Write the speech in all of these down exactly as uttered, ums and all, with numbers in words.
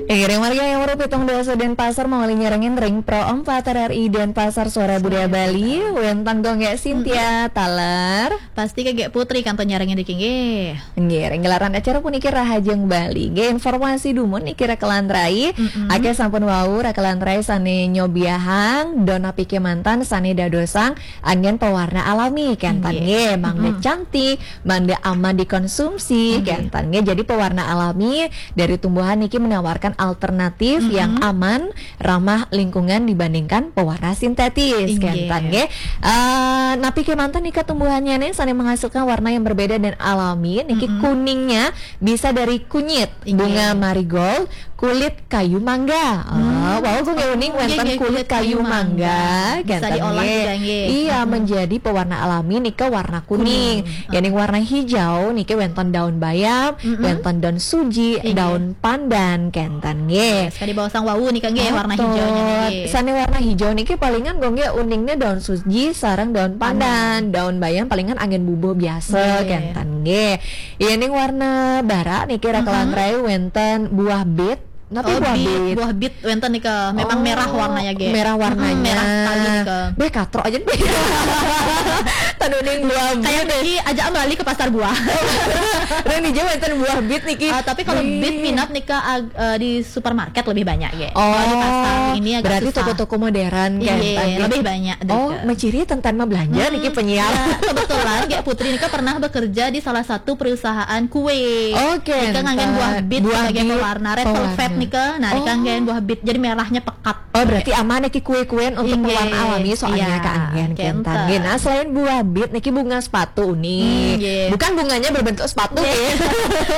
Iring warga yang merupi tong dua Denpasar mau nyarengin ring Pro empat R R I Denpasar, Suara Budaya Bali. Wénten Gung Gék Cynthia taler. Pasti Gék Putri kantun nyarengin niki nggih. Nggih, ring gelaran acara puniki Rahajeng Bali. Nggih, informasi dumun niki rekelan rai. Mm-mm. Akéh sampun wau rekelan rai sané nyobiahang, don napi kémanten sané dadosang anggén pewarna alami kénten nggih, mangda cantik, mangda aman dikonsumsi kénten nggih. Jadi pewarna alami dari tumbuhan niki menawarkan alternatif yang aman, ramah lingkungan dibandingkan pewarna sintetis kénten nggih. Eh, napi kémanten nika tumbuhannya nih sané menghasilkan warna yang berbeda dan alami niki. Kuningnya bisa dari kunyit bunga marigold, kulit kayu mangga. Oh, wau Gung Gék uning wénten kulit kayu mangga, bisa diolah juga nggih. Iya, menjadi pewarna alami nika warna kuning. Yéning warna hijau niki wénten daun bayam, wénten daun suji, daun pandan kénten nggih. Sekali bawasang wau nika nggih warna hijaunya nggih. Sané warna hijau niki palingan Gung Gék uningnya daun suji sareng daun pandan, daun bayam palingan anggén bubuh biasa kénten nggih. Yéning warna bara niki rekelan rai wénten buah bit. Napi buah bit? Buah bit wénten nika memang merah warnanya nggih. Merah warnanya. Merah sekali nika. Béh katrok aja. Tan uning buah bit. Kayak pergi aja beli ke pasar buah. Dan hijau wénten buah bit niki. Ah, tapi kalau bit minat nika ag- eh, di supermarket lebih banyak nggih. Oh, kalau di pasar ini agak berarti susah. Toko-toko modern kan. Iya, lebih banyak. Oh, menciri tentang mah belanja niki penyiar. Ya, kebetulan Gék Putri nika pernah bekerja di salah satu perusahaan kue. Oke. Nika nganggén buah bit sebagai pewarna, red velvet nika. Nah, nika nganggén buah bit jadi merahnya pekat. Oh, berarti aman niki kue-kuen untuk pewarna alami soalnya keanggén kénten. Nggih, nah selain buah bit niki bunga sepatu uning. Bukan bunganya berbentuk sepatu nggih.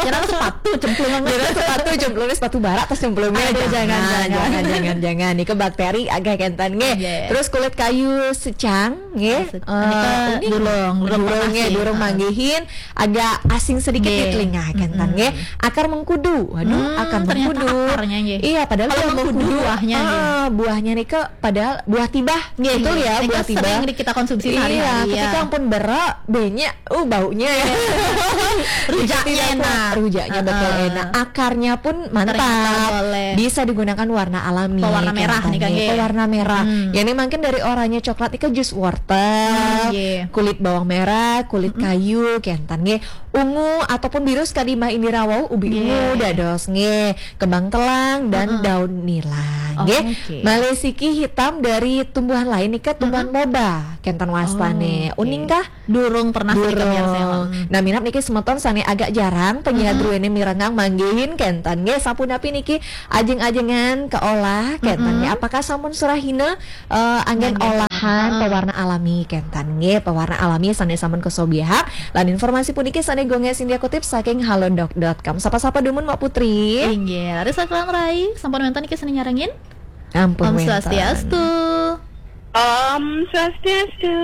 Kira sepatu cemplung. Kira sepatu cemplung, sepatu bara tas cemplung. Aduh, jangan, jangan, jangan, jangan. Nika bakteri agak kénten nggih. Terus kulit kayu secang nggih. Nika durung, durung pernah nggih, sih. Durung manggihin, agak asing sedikit di telinga kénten nggih. Akar mengkudu. Waduh, akar mengkudu. Ternyata akarnya nggih. Iya, padahal kalau buah mengkudu buahnya nggih. Buahnya nika padahal buah tibah. Nggih, betul ya, buah tibah. Sering kita konsumsi sehari-hari. Iya, ketika ampun berak, banyak, uh baunya ya. Rujaknya enak. Rujaknya betul enak. Akarnya pun mantap. Bisa digunakan warna alami. Pewarna merah nih, Kang, nggih. Pewarna merah. Ya, ini mungkin dari oranye coklat nika jus wortel, kulit bawang merah, kulit kayu, kénten nggih. Ungu ataupun biru sekadi Mbah Indira wau, ubi ungu dados nggih, kembang telang dan daun nila nggih. Malih siki hitam dari tumbuhan lain nika, tumbuhan moba kénten wastané. Uning kah? Durung pernah sih, Kang, ya, saya. Nah, minab niki semeton sané agak jarang penyiar druéné mirengang manggihin kénten nggih, sapunapi niki ajeng-ajengan keolah kénten nggih. Apakah sampun surahina eh, anggén olahan pewarna alami kénten nggih, pewarna alami sané sampun kasobiahang. Lan informasi puniki sané Gung Gék Cynthia kutip saking halodoc dot com. Sapa-sapa dumun Mbak Putri? Inggih, raris rekelan rai, sampun wénten niki sané nyarengin? Ampun, Om wénten. Swastiastu. Om Swastiastu.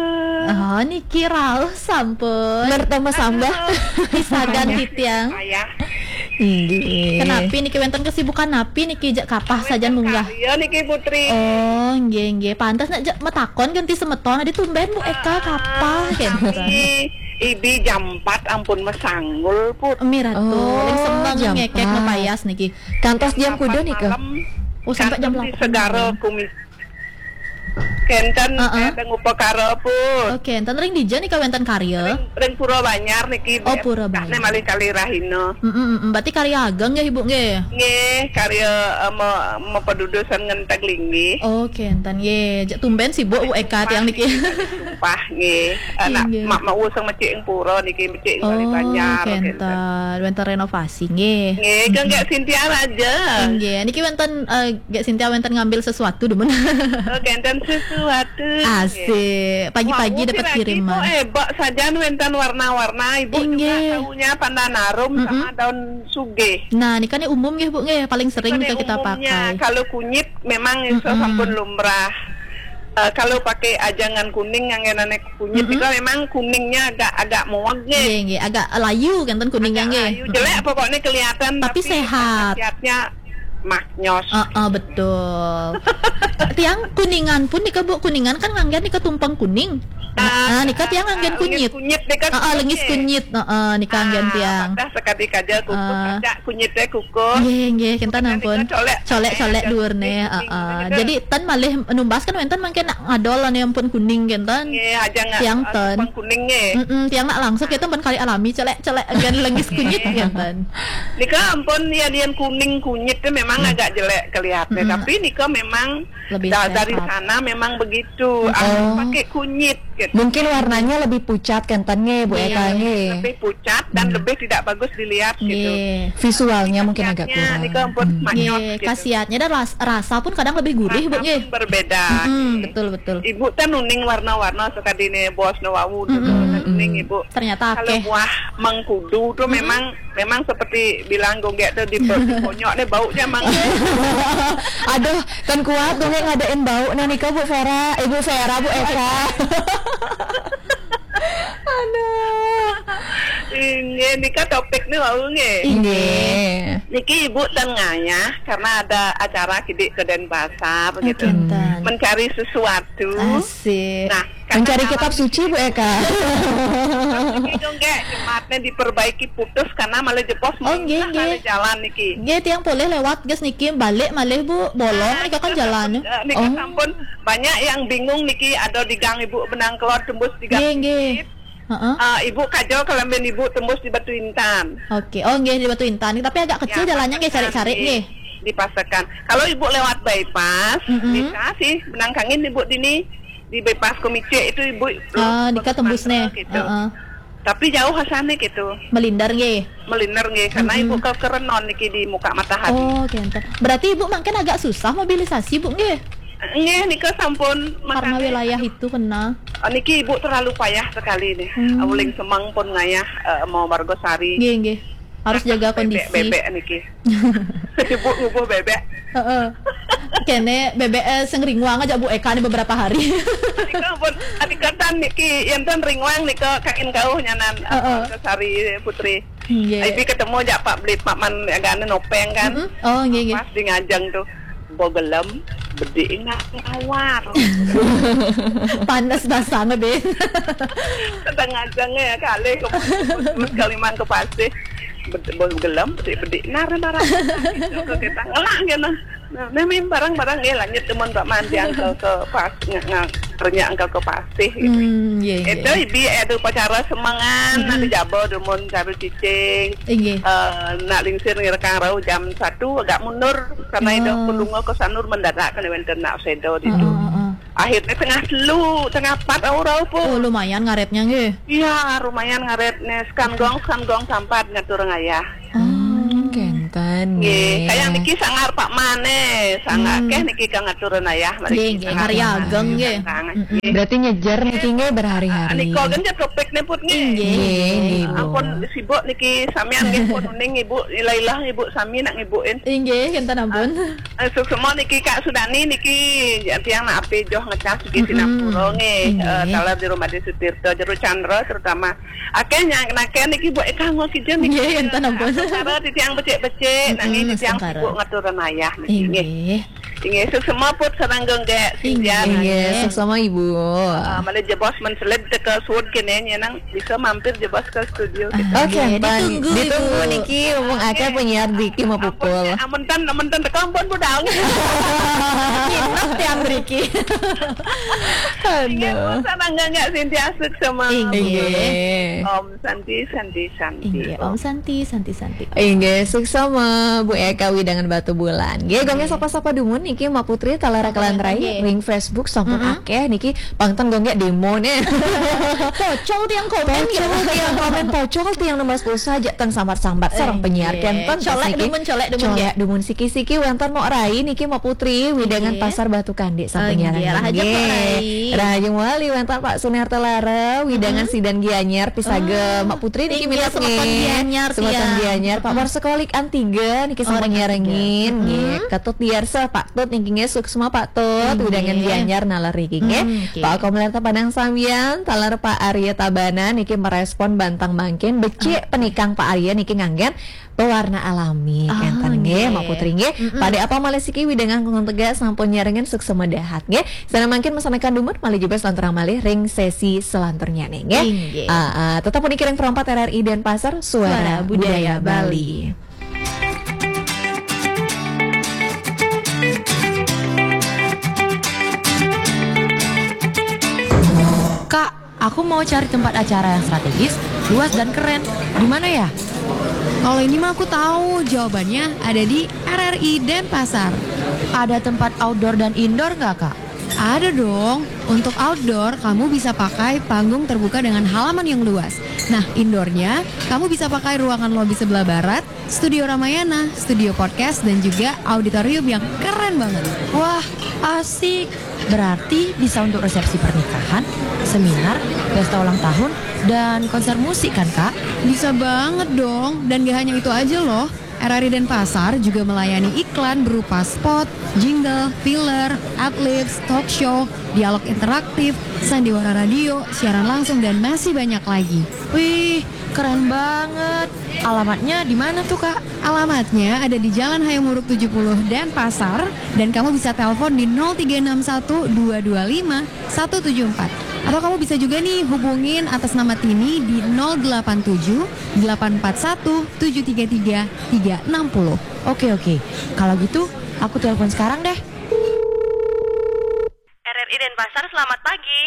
Oh, niki rauh sampun. Mertama sambah. Aduh. Pisagan titiang. Ayah. Inggih. Kenapi niki wénten kesibukan napi niki jak kapah sajan munggah? Karya niki Putri. Oh, nggih, nggih. Pantes nak jak metakon ganti semeton, adi tumben Bu Eka kapah kénten. Ibi jam empat ampun mesanggul, Put. Miratu, oh, ling semeng jam ngekek empat. Ngepayas niki. Kantos jam kuda nika? Malam. Oh, sampai jam delapan. Kantos di Segara Kumis. Kénten, heeh, eh, teng upakara pun. Oké, kénten ring dija nika wénten karya? Ring, ring Pura Banjar niki. Oh, Pura Banjar. Nek malih kalih rahina. Mm, mm, mm. Berarti karya ageng nggih, Ibu, nggih? Nggih, karya, eh, me-, mapadudusan ngenteg linggih. Oké, kénten nggih. Jak tumben sibuk Bu Eka tiang niki. Sumpah nggih. Anak mak mau sang mecik ing pura niki, mecik ing Bali Banjar, kénten. Wénten renovasi nggih. Nggih, kang Gék Cynthia aja. Nggih, niki wénten, eh, Gék Cynthia wénten ngambil sesuatu demen. Oh, kénten sesuatu. Asik. Pagi-pagi dapat kiriman. Wau, piragi, Bu, eh, bak sajan wénten warna-warna. Ibu juga taunya pandan arum sama daun sugih. Nah, niki kan umum nggih, Bu, nggih, paling sering nika kita pakai. Kalau kunyit memang iso sampun lumrah. Eh, kalau pakai ajangan kuning yang enaknya kunyit itu memang kuningnya agak, agak muweg nggih. Nggih, nggih, agak layu kan kuningnya nggih. Agak layu, jelek pokoknya kelihatan, tapi sehat. Khasiatnya Maknyos. Ah, ah, betul. Tiang Kuningan pun nika, Bu, Kuningan kan nganggen nika tumpeng kuning. Nah, ah, nika tiang nganggen kunyit. Kunyit nika. Ah, ah, lengis kunyit. Ah, ah, nika nganggen tiang. Dah sekali kaja kukus, ah, kaja kunyit teh kukus. Nggih, nggih, kinten ampun. Colek, colek duur neh. Ah, ah. Jadi tan malih numbas kan wenten mangkin ngadol ane ampun kuning kinten. Nggih, aja nggak. Tiang ten. Kuning nggih. Mm-mm, tiang nak langsung kita ampun kari alami, colek, colek, gen lengis kunyit kinten. Nika ampun, ya, lian kuning kunyit teh memang agak jelek kelihatannya, tapi nika memang lebih da-, dari sana memang begitu. Harus pakai kunyit gitu. Mungkin warnanya lebih pucat kinten nggih, Bu Eka nggih. Lebih pucat dan lebih tidak bagus dilihat gitu. Visualnya mungkin agak kurang. Nika ampun maknyos gitu. Khasiatnya dan ras-, rasa pun kadang lebih gurih, Bu nggih. Berbeda. Mm, betul, betul. Ibu kan nuning warna-warna sekadine bos no wau dulu nuning Ibu. Ternyata kalau buah mengkudu tuh memang, memang seperti bilang gonggek tuh di, di bonyok deh baunya mang. Aduh, kan kuat gonggek ngadain bau. Nah, nika Bu Vera, Ibu Vera, Bu Eka. Aduh. Inggih, nika topik nih wau nggih. Inggih. Niki Ibu ten ngayah karena ada acara kidik ke Denpasar gitu. Mencari sesuatu. Asik. Nah, mencari kitab suci, Bu Eka. Niki dong, Kak, jemaatnya diperbaiki putus karena malah jebos. Oh, nggih, nggih. Jalan niki. Nggih, tiang polih lewat, gas niki balik malih, Bu. Bolong nika kan jalan. Eh, nika sampun banyak yang bingung niki, ada di gang Ibu benang kelor tembus di gang. Nggih, nggih. Heeh. Eh, Ibu kajol kelamben Ibu tembus di Batu Intan. Oke. Oh, nggih, di Batu Intan. Tapi agak kecil jalannya nggih, carik-carik nggih. Dipasekan. Kalau Ibu lewat bypass, bisa sih benang kangin Ibu dini di bypass Komice itu Ibu. Oh, nika tembus neh. Gitu. Heeh. Tapi jauh asane gitu. Melinder nggih. Melinder nggih, karena Ibu ke kerenon niki di muka matahari. Oh, kinten. Berarti Ibu mangkin agak susah mobilisasi, Bu nggih? Nggih, nika sampun karena wilayah itu kena. Oh, niki Ibu terlalu payah sekali nih. Uling semeng pun ngayah, eh, mau Margosari. Nggih, nggih. Harus jaga kondisi. Bebek, bebek niki. Ibu ngubuh bebek. Heeh. Kene bebek, eh, sing ringwang aja Bu Eka nih beberapa hari. Nika pun adikatan niki, enten ringwang nika kain kauh nyanan, eh, Margosari Putri. Nggih. Ibi ketemu jak Pak Blit, Pak Man agane nopeng kan. Oh, nggih, nggih. Pas di ngajeng tuh. Bo gelem, bedik ingat awar. Panas basang, Bin. Tengah jeng ya, kali ke Kaliman ke Pasir. Bed-, bo gelem, bedik, bedik nar barang. Itu ke kita ngelah kena. Nah, memang barang-barang ya lanjut teman Pak Mandi angkel ke pas, nge-, nge-, kerja angkel ke Pasir gitu. Hmm, iya, iya. Itu ibi ada upacara semangan, nanti jabo demun caru cicing. Inggih. Eh, nak lingsir ngirekang rau jam satu agak mundur karena idah pelunga ke Sanur mendadak kena wenten nak sedo di tu. Heeh, heeh. Akhirnya tengah telu, tengah empat rau-rau pun. Oh, lumayan ngaretnya nggih. Iya, lumayan ngaretnya. Sekan gong, sekan gong sampat ngatur ngayah. Hmm, kenten nggih. Kayak niki sangar Pak Mane, sangar keh niki kang ngatur ngayah. Nggih, nggih, karya ageng nggih. Berarti nyejer niki nggih berhari-hari. Nika kan jatuh pik niput nggih. Inggih, inggih, Bu. Ampun sibuk niki samian nggih pun uning Ibu, ilah-ilah Ibu sami nak ngibuin. Inggih, kinten ampun. Eh, suksma niki Kak Sudani niki tiang nak api joh ngecas di Singapura nggih. Eh, taler di rumah di Sutirta, Jero Chandra terutama. Akeh nyang nakeh niki buat ikan ngok kijen niki. Nggih, kinten ampun. Cara di tiang becik-becik, nanging di tiang sibuk ngatur ayah niki nggih. Inggih. Inggih, suksma put sareng gonggek. Inggih, suksma Ibu. Ah, malih jebos menselid teka suud kene nyenang bisa mampir jebos ke studio kita. Oke, ditunggu, ditunggu Ibu. Niki, mumpung akeh penyiar driki mapupul. Ampun, ampun ten, ampun ten teka ampun budal. Nginep tiang driki. Aduh. Inggih, pun sareng gonggek Sintia suksma. Inggih. Om Santi, Santi, Santi. Inggih, Om Santi, Santi, Santi. Inggih, suksma Bu Eka widangan Batu Bulan. Nggih, gonggeng sapa-sapa dumun niki Mak Putri taler kalan rai ring Facebook sampun akeh niki pangten gonggeng demo nih. Pocol tiang komen. Pocol tiang komen, pocol tiang numbas pulsa aja ten sambat-sambat sareng penyiar kenten colek niki. Dumun, colek dumun, colek dumun siki-siki wenten Mak Rai niki Mak Putri widangan Pasar Batu Kande sampun nyarang. Rahayu Mak Rai. Rahayu Mak Rai wenten Pak Sunarta Lara widangan Sidan Gianyar pisaga Mak Putri niki minat nggih. Semeton Gianyar, semeton Gianyar. Pak Marsekolik Antiga niki sampun nyarengin nggih. Ketut diarsa Pak Tu Niki nggih, suksma Pak Tut, Nggih. Widangan Gianyar naler niki nggih. Hmm, oke. Pak Komler Padang Sambian, taler Pak Arya Tabanan niki merespon bantang mangkin, becik penikang Pak Arya niki nganggen pewarna alami. Ah, Enten nggih, nggih. Mak Putri nggih. Mm-mm. Pada apa malih siki widangan kangtung tegak sampun nyarengin, suksma dahat nggih. Sana mangkin mesenekan dumut malih juga selanturang malih ring sesi selanturnya nih nggih. Inggih. Ah, ah, tetap puniki ring Pro empat R R I Denpasar, Suara, Suara Budaya Budaya Bali. Kak, aku mau cari tempat acara yang strategis, luas dan keren. Di mana ya? Kalau ini mah aku tahu jawabannya ada di R R I Denpasar. Ada tempat outdoor dan indoor nggak, Kak? Ada dong. Untuk outdoor, kamu bisa pakai panggung terbuka dengan halaman yang luas. Nah, indoornya, kamu bisa pakai ruangan lobi sebelah barat, studio Ramayana, studio podcast, dan juga auditorium yang keren banget. Wah, asik. Berarti bisa untuk resepsi pernikahan, seminar, pesta ulang tahun, dan konser musik kan, Kak? Bisa banget dong. Dan gak hanya itu aja loh. R R I Denpasar juga melayani iklan berupa spot, jingle, filler, adlibs, talk show, dialog interaktif, sandiwara radio, siaran langsung, dan masih banyak lagi. Wih, keren banget. Alamatnya di mana tuh, Kak? Alamatnya ada di Jalan Hayam Wuruk tujuh puluh Denpasar, dan kamu bisa telepon di nol tiga enam satu dua dua lima satu tujuh empat. Atau kamu bisa juga nih hubungin atas nama Tini di nol delapan tujuh delapan empat satu tujuh tiga tiga tiga enam nol. Oke, oke. Kalau gitu, aku telepon sekarang deh. R R I Denpasar, selamat pagi.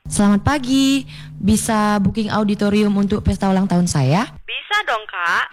Selamat pagi. Bisa booking auditorium untuk pesta ulang tahun saya? Bisa dong, Kak.